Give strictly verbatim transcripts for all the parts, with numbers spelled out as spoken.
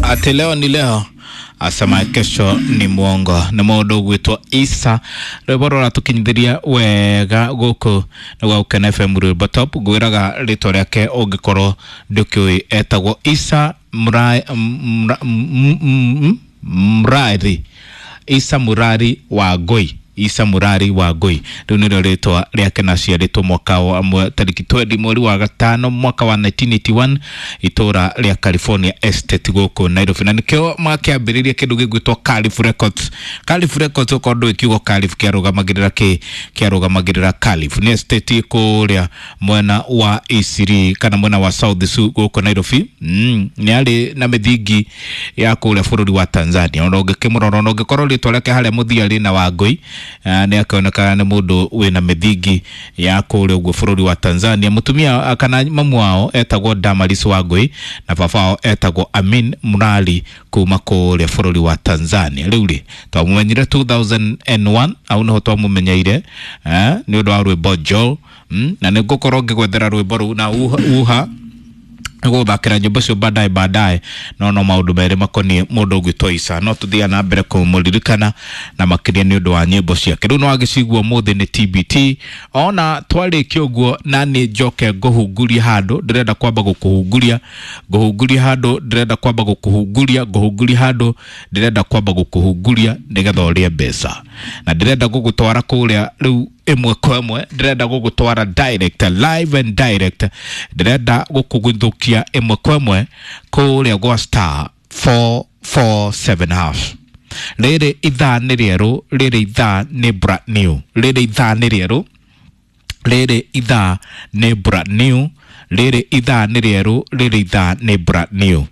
Ati leo ni leo, asema kesho ni mwongo. Nĩ mũndũ ũgwĩtwo Isa, rwĩmbo rũratũkinyithĩria wega gũkũ nĩ gwa Gũkena F M, rwĩmbo top. Ngwĩraga rĩtwa rĩake ũngĩkorwo ndũkĩũĩ, etagwo Isa Mra- Mra- M- M- Mrari, Isa Murari wa Ngũi. Isa Murari wa Ngũi rĩu nĩrĩo rĩtwa rĩake, na aciarĩtwo mwaka wa mwe- tarĩki twendi mweri wa gatano mwaka wa nineteen eighty-one, itũra rĩa California Estate gũkũ Nairobi, na nĩkĩo makĩambĩrĩria kĩndũ gĩgwĩtwo Calif Records. Calif Records, okorwo ndũĩ kiugo Calif kĩarũgamagĩrĩra kĩ, kĩarũgamagĩrĩra Calif nĩ estate kũrĩa mwena wa Isiri kana mwena wa South Su gũkũ Nairobi. mm, nĩ arĩ na mĩthingi ya kũrĩa bũrũri wa Tanzania. Ona ũngĩkĩmũrora, ona ũngĩkorwo rĩtwa rĩake harĩa mũthia rĩna Wangũi, ah, nĩ akĩonekana nĩ mũndũ wĩna mĩthingi ya kũrĩa ũguo bũrũri wa Tanzania. Mũtumia ah, kana mamu wao etagwo Damaris Wangũi na baba wao etagwo Amin Murali kuma kũrĩa bũrũri wa Tanzania. Rĩu rĩ, twamũmenyire two thousand and one, au nĩho twamũmenyeire eh, nĩ ũndũ wa rwĩmbo Joel. mm, na nĩ ngũkorwo ngĩgwethera rwĩmbo rũu na uha, uha gũthakĩra nyĩmbo cio baadaye baadaye. No no maũndũ merĩ makoniĩ mũndũ ũgwĩtwo Isa, no tũthiaga na mbere kũmũririkana na makĩria nĩ ũndũ wa nyĩmbo ciake. Rĩu no agĩcigua ũmũthĩ nĩ T B T. Ona twarĩkia ũguo, na nĩ njoke ngũhungurie handũ ndĩrenda kwamba gũkũhunguria, ngũhunguria handũ ndĩrenda kwamba gũkũhunguria, ngũhunguria handũ ndĩrenda kwamba gũkũhunguria nĩgetha ũrĩe mbeca, na ndĩrenda gũgũtwara kũrĩa rĩu ĩmwe kwa ĩmwe, ndĩrenda gũgũtwara direct, live and direct, ndĩrenda gũkũgũthũkia ĩmwe kwa ĩmwe kũrĩa gwa star four four seven hash. Rĩrĩ ithaa nĩ rĩerũ, rĩrĩ ithaa nĩ brand new, rĩrĩ ithaa nĩ rĩerũ, rĩrĩ ithaa nĩ brand new, rĩrĩ ithaa nĩ rĩerũ, rĩrĩ ithaa nĩ brand new.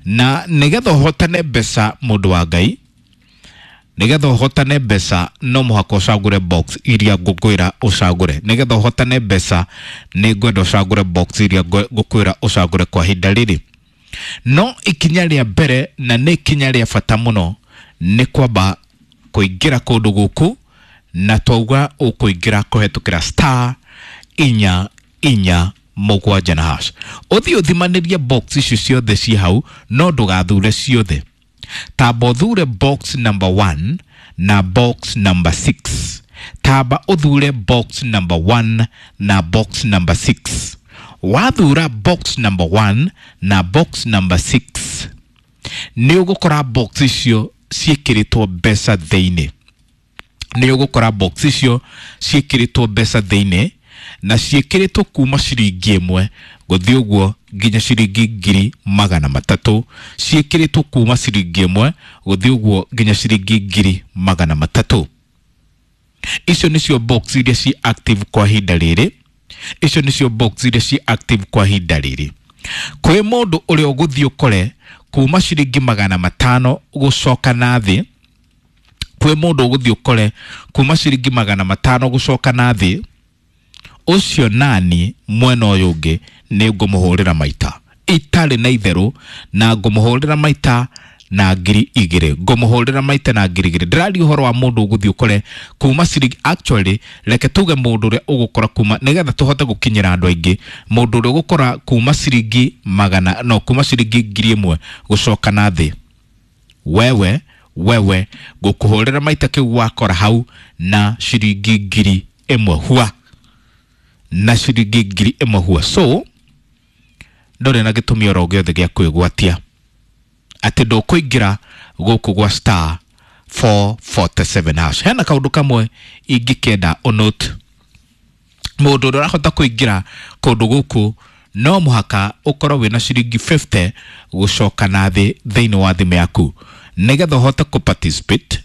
Na nĩgetha ũhotane mbeca, mũndũ wa Ngai, nĩgetha ũhotane mbeca no mũhaka ũcagũre box iria ngũkwĩra ũcagũre. Nĩgetha ũhotane mbeca nĩ ngwenda ũcagũre box iria ngũ- ngũkwĩra ũcagũre kwa ihinda rĩrĩ. No ikinya rĩa mbere, na nĩ ikinya rĩa bata mũno, nĩ kwamba kũingĩra kũndũ gũkũ, na twauga ũkũingĩra kũhetũkĩra star inya inya mũgwanja na hash. Ũthiĩ ũthimanĩrie box icio ciothe ciĩ hau, no ndũgathure ciothe, tamba ũthure box number one na box number six. Tamba ũthure box number one na box number six. Wathura box number one na box number six, nĩ ũgũkora box icio ciĩkĩrĩtwo mbeca thĩinĩ. Nĩ ũgũkora box icio ciĩkĩrĩtwo mbeca thĩinĩ, na ciĩkĩrĩtwo kuma ciringi ĩmwe gũthiĩ ũguo nginya ciringi ngiri magana matatũ. Ciĩkĩrĩtwo kuma ciringi ĩmwe gũthiĩ ũguo nginya ciringi ngiri magana matatũ. Icio nĩcio box iria ci active kwa ihinda rĩrĩ. Icio nĩcio box iria ci active kwa ihinda rĩrĩ. Kwĩ mũndũ ũrĩa ũgũthiĩ ũkore kuma ciringi magana matano gũcoka na thĩ, kwĩ mũndũ ũgũthiĩ ũkore kuma ciringi magana matano gũcoka na thĩ, ũcio nani mwena ũyũ ũngĩ nĩ ngũmũhũrĩra maita itarĩ na itherũ, na ngũmũhũrĩra maita na ngiri igĩrĩ, ngũmũhũrĩra maita na ngiri igĩrĩ. Ndĩraria ũhoro wa mũndũ ũgũthiĩ ũkore kuma ciringi, actually reke tuge mũndũ ũrĩa ũgũkora kuma, nĩgetha tũhote gũkinyĩra andũ aingĩ, mũndũ ũrĩa ũgũkora kuma ciringi magana, no kuma ciringi ngiri ĩmwe gũcoka na thĩ, wewe wewe ngũkũhũrĩra maita kĩu wakora hau na ciringi ngiri ĩmwe hua, na ciringi ngiri ĩmwe hua. So ndũrĩ na gĩtũmi oro gĩothe gĩa kwĩgwatia atĩ ndũkũingĩra gũkũ gwa star four forty-seven hash. Hena kaũndũ kamwe ingĩkenda ũnote: mũndũ ũrĩa ũrahota kũingĩra kũndũ gũkũ no mũhaka ũkorwo wĩna ciringi fifty gũcoka na thĩ thĩinĩ wa thimũ yaku nĩgetha ũhote kũ participate.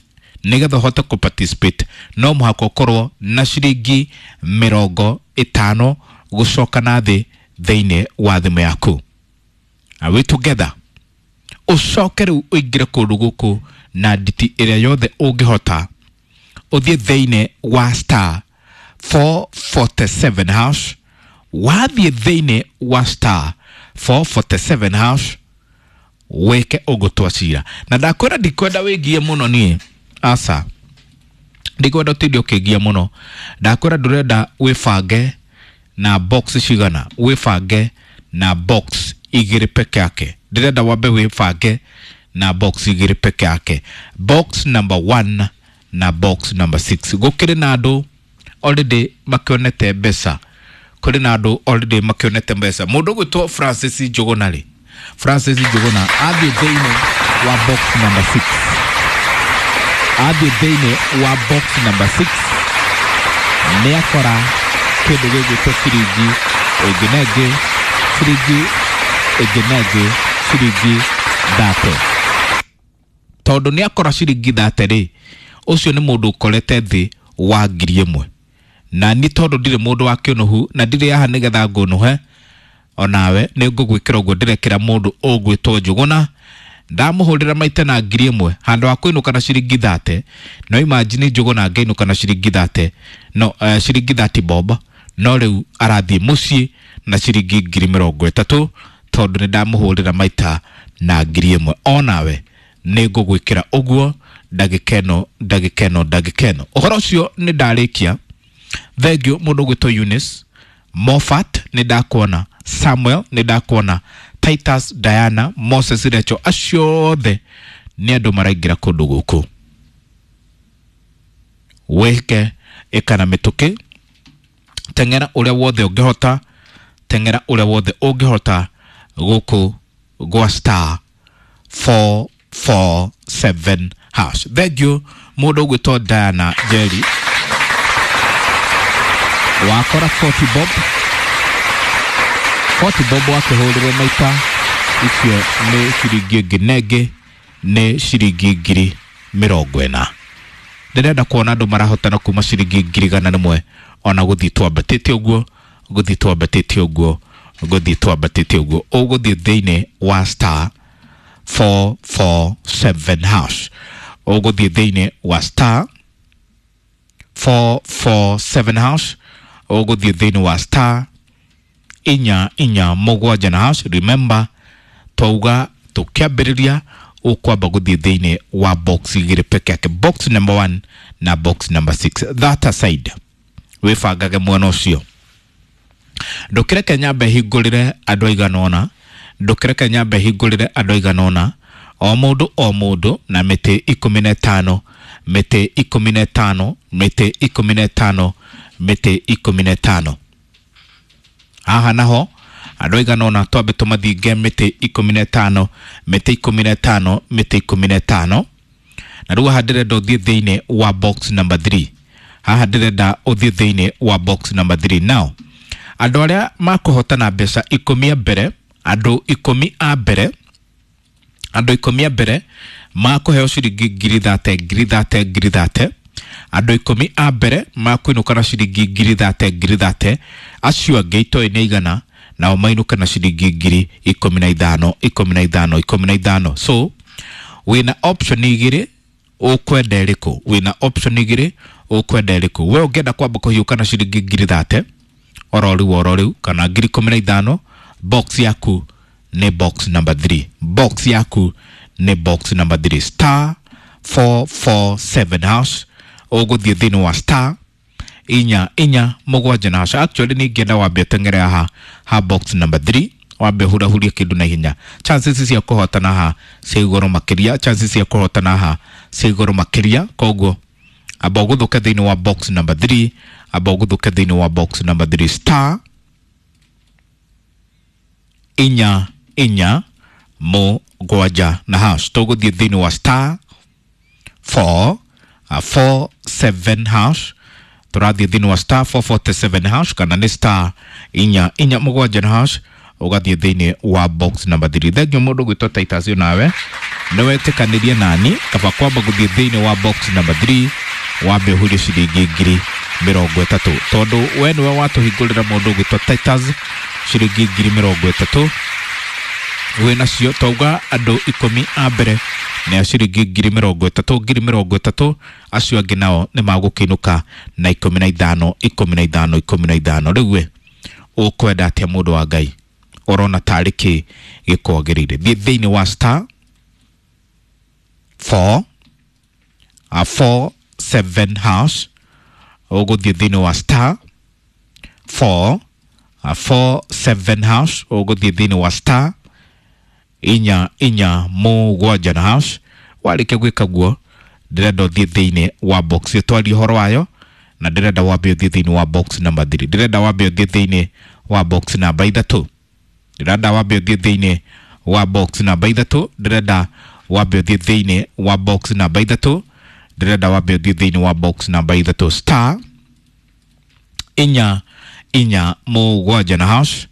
Nĩgetha ũhote kũ participate no mũhaka ũkorwo na ciringi mĩrongo ĩtano gũcoka na thĩ thĩinĩ wa thimũ yaku. Are we together? Ũcoke rĩu ũingĩre kũndũ gũkũ na nditi ĩrĩa yothe ũngĩhota, ũthiĩ thĩinĩ wa star four forty-seven hash. Wathiĩ thĩinĩ wa star four forty-seven hash, wĩke ũguo twacira, na ndakwĩra ndikwenda wĩngie mũno niĩ, aca, ndikwenda ũtinde ũkĩngia mũno. Ndakwĩra ndũrenda wĩbange na box cigana, wĩbange na box igĩrĩ peke yake. Ndĩrenda wambe wĩbange na box igĩrĩ peke yake, box number one na box number six. Gũkĩrĩ na andũ already makĩonete mbeca, kũrĩ na andũ already makĩonete mbeca. Mũndũ ũgwĩtwo Francis Njũgũna rĩ, Francis Njũgũna athiĩ thĩinĩ wa box number six, athiĩ thĩinĩ wa box number six nĩ akora kĩndũ gĩgwĩtwo ciringi ĩngĩ na ĩngĩ, ciringi ĩngĩ na ĩngĩ, ciringi thate. Tondũ nĩ akora ciringi thate rĩ, ũcio nĩ mũndũ ũkorete thĩ wa ngiri ĩmwe. Na ni tondũ ndirĩ mũndũ wa kĩũnũhu na ndirĩ haha nĩgetha ngũnũhe, onawe nĩ ngũgwĩkĩra ũguo ndĩrekĩra mũndũ ũgwĩtwo Njũgũna. Ndamũhũrĩra maita na ngiri ĩmwe handũ ha kũinũka na ciringi thate. No imagine Njũgũna angĩinũka na ciringi thate, no uh, ciringi thirty bob, no rĩu arathiĩ mũciĩ na ciringi ngiri mĩrongo ĩtatũ tondũ nĩ ndamũhũrĩra maita na ngiri ĩmwe. Onawe nĩ ngũgwĩkĩra ũguo ndagĩka ĩno, ndagĩka ĩno, ndagĩka ĩno. Ũhoro ũcio nĩ ndarĩkia. Thengiũ mũndũ ũgwĩtwo Eunice Moffat, nĩ ndakuona. Samuel, nĩ ndakuona. Titus, Diana, Moses, Recho, acio othe nĩ andũ maraingĩra kũndũ gũkũ. Wĩke ĩka na mĩtũkĩ, teng'era ũrĩa wothe ũngĩhota, teng'era ũrĩa wothe ũngĩhota gũkũ gwa star four four seven hash. Thengiũ mũndũ ũgwĩtwo Diana Jerry, wakora forty bob, forty bob wakĩhũrĩrwo maita icio nĩ ciringi ĩngĩ na ĩngĩ, nĩ ciringi ngiri mĩrongo ĩna. Ndĩrenda kuona andũ marahotana kuma ciringi ngiri igana rĩmwe ona gũthiĩ twambatĩte ũguo, gũthiĩ twambatĩte ũguo, gũthiĩ twambatĩte ũguo. Ũgũthiĩ thĩinĩ wa star four four seven hash, ũgũthiĩ thĩinĩ wa star four four seven hash, ũgũthiĩ thĩinĩ wa star inya inya mũgwanja na hash. Remember twauga tũkĩambĩrĩria ũkwamba gũthiĩ thĩinĩ wa box igĩrĩ peke yake, box number one na box number six. That aside, wĩbangage mwena ũcio. Ndũkĩreke nyambe hingũrĩre andũ aigana ũna, ndũkĩreke nyambe hingũrĩre andũ aigana ũna, o mũndũ o mũndũ na mĩtĩ ikũmi na ĩtano, mĩtĩ ikũmi na ĩtano, mĩtĩ ikũmi na ĩtano, mĩtĩ ikũmi na ĩtano. Haha naho andũ aigana ũna twambe tũmathinge mĩtĩ ikũmi na ĩtano, mĩtĩ ikũmi na ĩtano, mĩtĩ ikũmi na ĩtano. Na rĩu haha ndĩrenda ũthiĩ thĩinĩ wa box number three. Haha ndĩrenda ũthiĩ thĩinĩ wa box number three. Now andũ arĩa makũhotana mbeca ikũmi a mbere, andũ ikũmi a mbere, andũ ikũmi a mbere makũheo ciringi ngiri thate, ngiri thate, ngiri thate. Andũ ikũmi a mbere makũinũka na ciringi ngiri thate, ngiri thate. Acio angĩ itoĩ nĩ igana, nao mainũke na ciringi ngiri ikũmi na ithano, ikũmi na ithano, ikũmi na ithano. So wĩna option igĩrĩ, ũkwenda ĩrĩkũ? Wĩna option igĩrĩ, ũkwenda ĩrĩkũ? We ũngĩenda kwamba kũhiũka na ciringi ngiri thate oro rĩu oro rĩu kana ngiri ikũmi na ithano, box yaku nĩ box number three. Box yaku nĩ box number three, star four four seven hash. Ũgũthiĩ thĩinĩ wa star inya inya mũgwanja na hash. Actually nĩ ingĩenda wambe ũteng'ere haha ha box number three, wambe hurahurie kĩndũ na ihenya. Chances cia kũhotana haha cia igũrũ makĩria, chances cia kũhotana haha cia igũrũ makĩria. Koguo amba ũgũthũke thĩinĩ wa box number three, amba ũgũthũke thĩinĩ wa box number three, star inya inya mũgwanja na hash. Tũgũthiĩ thĩinĩ wa star four, uh, four seven hash. Tũrathiĩ thĩinĩ wa star four forty seven hash kana nĩ star inya inya mũgwanja na hash, ũgathiĩ thĩinĩ wa box number three. Thengiũ mũndũ gwĩtwo Titus, nawe nĩ wetĩkanĩrie nani kaba kwamba gũthiĩ thĩinĩ wa box number three wambe ũhurie ciringi ngiri mĩrongo ĩtatũ, tondũ we nĩwe watũhingũrĩra mũndũ ũgwĩtwo Titus ciringi ngiri mĩrongo ĩtatũ wĩnacio. Twauga andũ ikũmi a mbere nĩ a ciringi ngiri mĩrongo ĩtatũ, ngiri mĩrongo ĩtatũ, acio angĩ nao nĩ magũkĩinũka na ikũmi na ithano, ikũmi na ithano, ikũmi na ithano. Rĩu we ũkwenda atĩa mũndũ wa Ngai? Ũrona tarĩ kĩ gĩkwagĩrĩire? Thiĩ thĩinĩ wa star four, uh, four seven hash. Ũgũthiĩ thĩinĩ wa star four, uh, four seven hash. Ũgũthiĩ thĩinĩ wa star Inya inya mũgwanja na hash. Warĩkia gwĩka guo, ndĩrenda ũthiĩ thĩinĩ wa box twarie ũhoro wayo, na ndĩrenda wambe ũthiĩ thĩinĩ wa box number three. Ndĩrenda wambe ũthiĩ thĩinĩ wa box namba ithatũ. Ndĩrenda wambe ũthiĩ thĩinĩ wa box namba ithatũ. Ndĩrenda wambe ũthiĩ thĩinĩ wa box namba ithatũ. Ndĩrenda wambe ũthiĩ thĩinĩ wa box namba ithatũ, star inya inya mũgwanja na hash.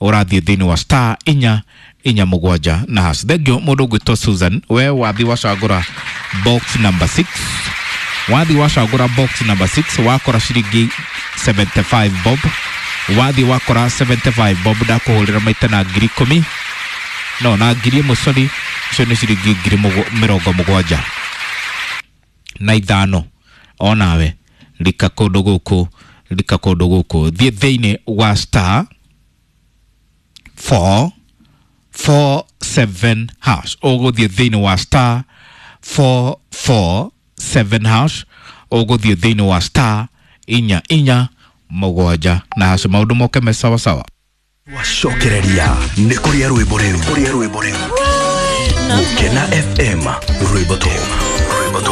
Ũrathiĩ thĩinĩ wa star inya inya mũgwanja na hash. Thengio mũndũ ũgwĩtwo Susan, we wathi wacagũra box number six. Wathi wacagũra box number six, wakora ciringi seventy-five bob. Wathi wakora seventy-five bob, ndakũhũrĩra maita na ngiri ikũmi, no na ngiri ĩmwe, sorry, icio nĩ ciringi ngiri mĩrongo mũgwanja na ithano. Onawe rika kũndũ gũkũ, rika kũndũ gũkũ, thiĩ thĩinĩ wa star four four seven hash. Ũgũthiĩ thĩinĩ wa star four four seven hash. Ũgũthiĩ thĩinĩ wa star inya inya mũgwanja na hash. Maũndũ moke me sawa sawa. Wacokereria nĩ kũrĩa rwĩmbo rĩu, kũrĩa rwĩmbo rĩu. Gũkena F M, rwĩmbo top.